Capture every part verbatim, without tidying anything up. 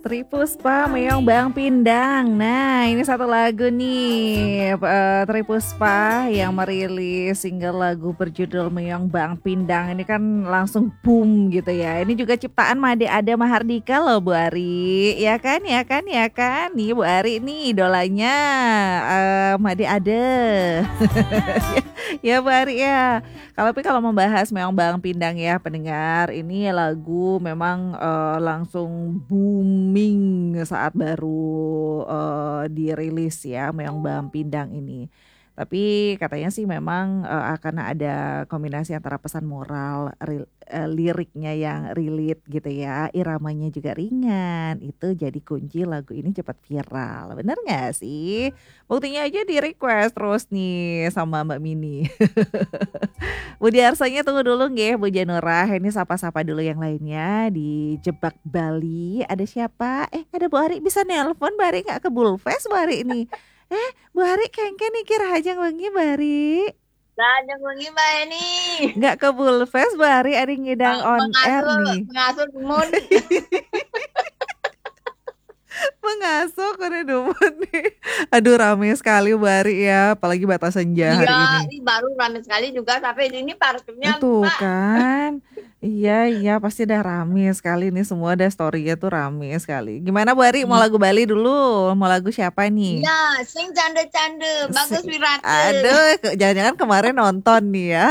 Tri Puspa Meong Bang Pindang. Nah, ini satu lagu nih, eh, Tri Puspa yang merilis single lagu berjudul Meong Bang Pindang. Ini kan langsung boom gitu ya. Ini juga ciptaan Made Ada Mahardika loh, Bu Ari. Ya kan, ya kan, ya kan. Nih, Bu Ari nih idolanya, eh, Made Ada. Ya, Bu Ari ya. Kalau, tapi kalau membahas Meong Bang Pindang ya, pendengar, ini lagu memang, eh, langsung booming saat baru, eh, dirilis ya, Meong Bang Pindang ini. Tapi katanya sih memang, eh, akan ada kombinasi antara pesan moral, ril-, eh, liriknya yang relate gitu ya, iramanya juga ringan, itu jadi kunci lagu ini cepat viral. Bener nggak sih? Buktinya aja di-request terus nih sama Mbak Mini. Bu Diarsanya tunggu dulu nggih, Bu Janurah. Ini sapa-sapa dulu yang lainnya di Jebak Bali. Ada siapa? Eh, ada Bu Ari, bisa nelpon, Bu Ari nggak ke Bulfest, Bu Ari ini. Eh, Bu Ari kengken nih kira aja wengi, Bu Ari. Lah, jangan wengi, Mbak Eni. Nggak ke Bulfest, Bu Ari, ada ngidang Bang, on air mengasuh, nih. Mengasuh dumun. Mengasuh, kode dumun nih. Aduh, rame sekali, Bu Ari ya. Apalagi Batas Senja hari Iya, ini. Ini baru rame sekali juga, tapi ini parkirnya Tuh lupa. Kan. Iya, iya, pasti dah rame sekali nih. Semua ada story-nya tuh rame sekali. Gimana, Bu Ari? Mau Hmm. lagu Bali dulu? Mau lagu siapa nih? Iya, sing canda-canda. Bagus Sing, Wirata. Aduh, ke-, jangan-jangan kemarin nonton nih ya.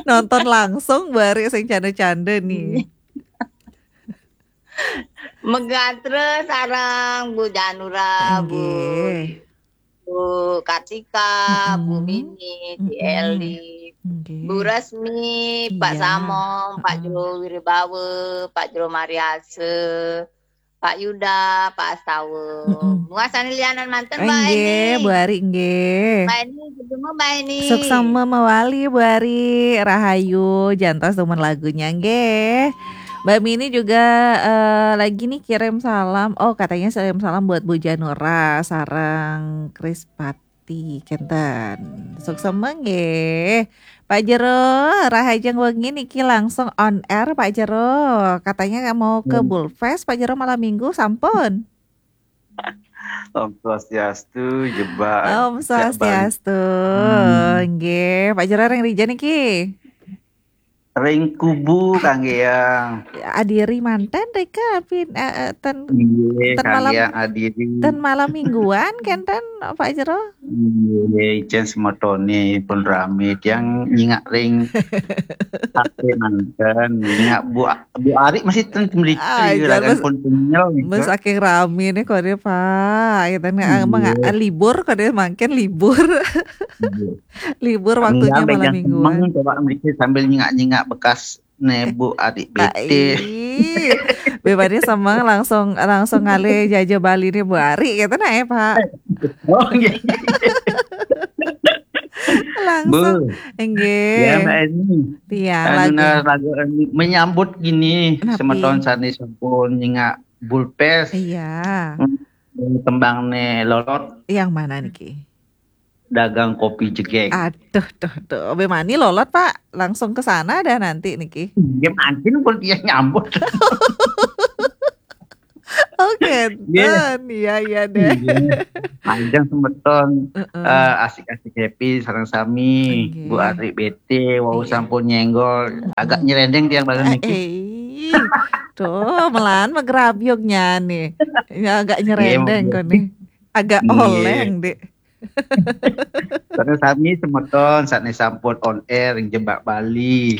Nonton langsung, Bu Ari, sing canda-canda nih. Iya. Megatra sareng Bu Janura, Bu Nggih. Bu Kartika, Bu Mm-mm. Mini, Bu Mm-mm. Eli, Nggih. Bu Resmi, Pak Iya. Samong, Pak Mm-mm. Jero Wiribawa, Pak Jero Mariase, Pak Yuda, Pak Astawa. Mm-mm. Muasani lianan manten, Mbak Nggih, Eni. Bu Ari, nggih. Mbak Eni, ketemu Mbak Eni. Suksma mawali, Bu Ari. Rahayu, jantos dumun lagunya, nggih. Mbak Mini juga, eh, lagi nih kirim salam. Oh, katanya kirim salam buat Bu Janura sareng Krispati, kenten. Suksma nggih. Pak Jero, rahajeng wengi niki langsung on air, Pak Jero. Katanya mau ke Hmm. Bulfest, Pak Jero, malam minggu, sampun. Om Swastiastu, Jebak. Om Jebak. Swastiastu. Hmm. Nggih, Pak Jero ring rija niki? Ring Kubu, kangge yang. Adiri manten rika, pin, eh, eh, ten, Nggih, ten malam, kangge yang adiri. Ten malam mingguan, kenten, Pak Jero? Nggih, ijen semetone pun rame, tiang nyingak ring H P manten, nyingak Bu, Bu Ari masih ten meliti, ah, ragan jangan pun kenyel gitu. Saking rame nih kode, Pak. Kita nih, ah, emang, iya, ah, libur kode, makin libur. Iya. Libur waktunya malam mingguan. Enggak, semeng, coba meliti sambil nyingak-nyingak bekas ne Bu Ari bete. Ih, bebane semeng langsung, langsung ngalih jaja Bali ne Bu Ari, gitu nah, eh, Pak. Oh, nggih. Langsung. Bu. Nggih. Ya, Mbak Eni. Iya, anu, lagu. Nah, lagu Eni menyambut gini, napi? Semeton sane sampun nyingak Bulfest. Iya. Hmm, tembang ne Lolot. Yang mana niki? Dagang kopi jegeg. Aduh, duh, duh. Bemani Lolot, Pak? Langsung ke sana dah nanti niki. Iya, mangkin pun dia nyambut. Oke, nggih. Ten. Iya, iya deh. Nggih. Panjang semeton, heeh, eh, asik-asik happy sareng sami. Nggih. Bu Ari bete, wau, iya, sampun nyenggol. Heeh. Agak nyerendeng tiang bareng niki. Eh, eh. Tuh, melan megrabyuknya nih. Ya, agak nyerendeng kok nih. Nggih, Bu. Agak, nggih, oleng, Dek. Terus sami semeton sakne sampun on air ring Jebak Bali.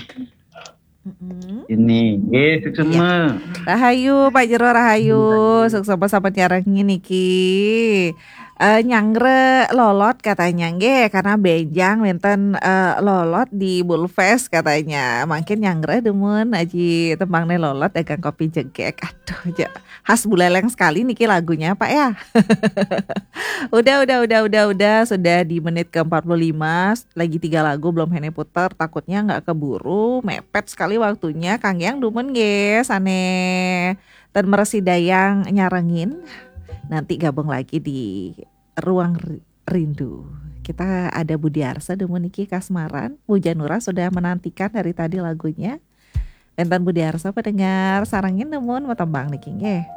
Mm-mm. Ini, nggih, suksma. Iya. Rahayu, Pak Jero, rahayu. Iya. Suksma sampun nyarengin niki. Eh, nyanggra Lolot katanya, nggih, karena benjang wenten, eh, Lolot di Bulfest katanya. Mangkin nyanggra dumun aji tembangne Lolot dagang kopi jegeg. Aduh, ja-, khas Buleleng sekali niki lagunya, Pak, ya. Udah, udah, udah, udah, udah. Sudah di menit ke empat puluh lima, lagi tiga lagu belum hene puter. Takutnya nggak keburu, mepet sekali waktunya. Kang Yang dumun nggih, sane ten meresi dayang nyarengin. Nanti gabung lagi di Ruang Ri-, Rindu. Kita ada Budi Arsa dumun niki kasmaran. Bu Janura sudah menantikan dari tadi lagunya. Wénten Budi Arsa pendengar, sarengin nemen tembang niki nggih.